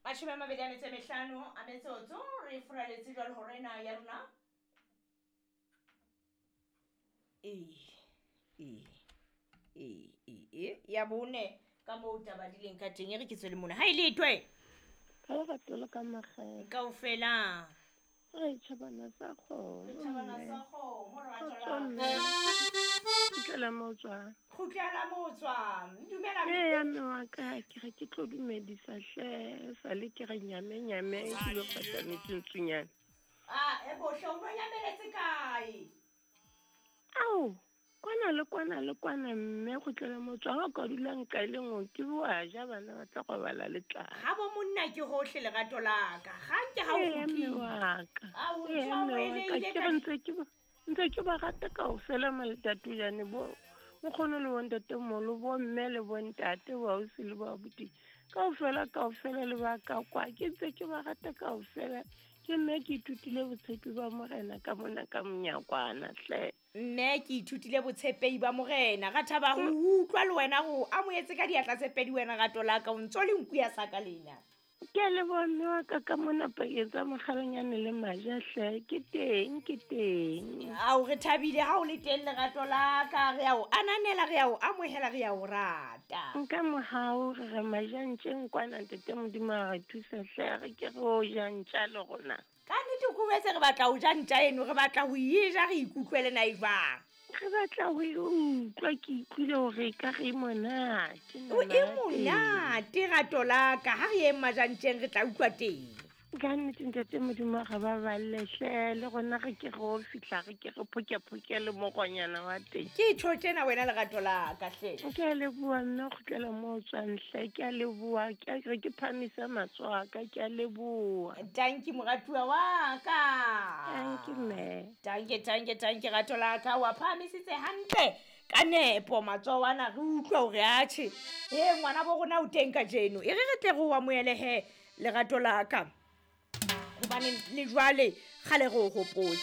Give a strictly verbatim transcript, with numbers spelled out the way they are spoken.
Mashome a mabedi a metso e mehlano a metsotso re furaletse jwale hore ena ya rona ee ee ee ee ee ya bone ka moo taba di leng ka teng e re ke tswele mona ha e letwe Ka lerato le ka makgethe. kaofela Re tjhabana sa kgomo. Re tjhabana mme. sa kgomo, rato Kgotso la mme. Kgutlela mo o tswang. Kgutlela mo o tswang. Dumela mme. Eya mme wa ka ke re ke tlo dumedisa hle sale ke re nyame nyame ke lo fata metsintsunyana. Ah, e bohle o no nyameletse kae? Ao, kwana le kwana le kwana mme kgutlela mo o tswang. Ha o ka dula nka e le nngwe ke wa ja bana ba tla robala le tlala. Ha bo monna ke hohle lerato la ka. Ga nke ha o Eya mme kgutlile. wa ka. Ao, Eya ntho mme o wa ka elehile ke ka re ntse ke ba ntse ke ba rata kaofela maletatojane bo nkgono le bontatemoholo, bo mme le bontate, bo ausi le bo abuti. Kaofela kaofela le ba ka kwa ke ntse ke ba rata kaofela. Ke mme ke ithutile botshepi ba morena ka mona ka monyakwana hle. Mme ke ithutile botshepehi ba morena. Ra thaba ho utlwa le wena ho amohetse ka diatla tse pedi wena rato la ka o ntso le nku ya saka lena. Ke a leboha mme wa ka ka mona pakeng tsa mokgalanyane le maja hle. Ke teng, ke teng. Ao, re thabile ha o le teng lerato la ka. Re a o ananela, re a o amohela, re a o rata. Nka mohau re re maja ntjeng kwana ntate Modimo a re thusa hle re ke re o ja ntja le rona. Ka nnete ko wetse re batla ho ja ntja eno, re batla ho e ja re ikutlwele na e jwang. Re batla ho e utlwa, ke ikutlwile hore e ka re e monate, O e nama ya teng. monate rato la ka, ha re yeng majantjeng re tla utlwa teng. Ka nnete ntate Modimo a re baballe hle, le rona re ke re o fihla re ke re phokephoke le moronyana wa teng. Ke tjho tjena wena lerato la ka hle. Ke a leboha mme o kgutlela moo o tswang hle, ke a leboha, ke a re ke phahamisa matsoho a ka, ke a leboha. Tanki moratuwa wa ka. Tanki mme. Tanki, tanki, tanki rato la ka, wa phahamisitse hantle ka nepo matsoho ana re utlwa hore atjhe. Eh ngwana bo rona o teng kajeno. E re re tle re o amohele he lerato la ka. Hobane le jwale kgale re o hopotse.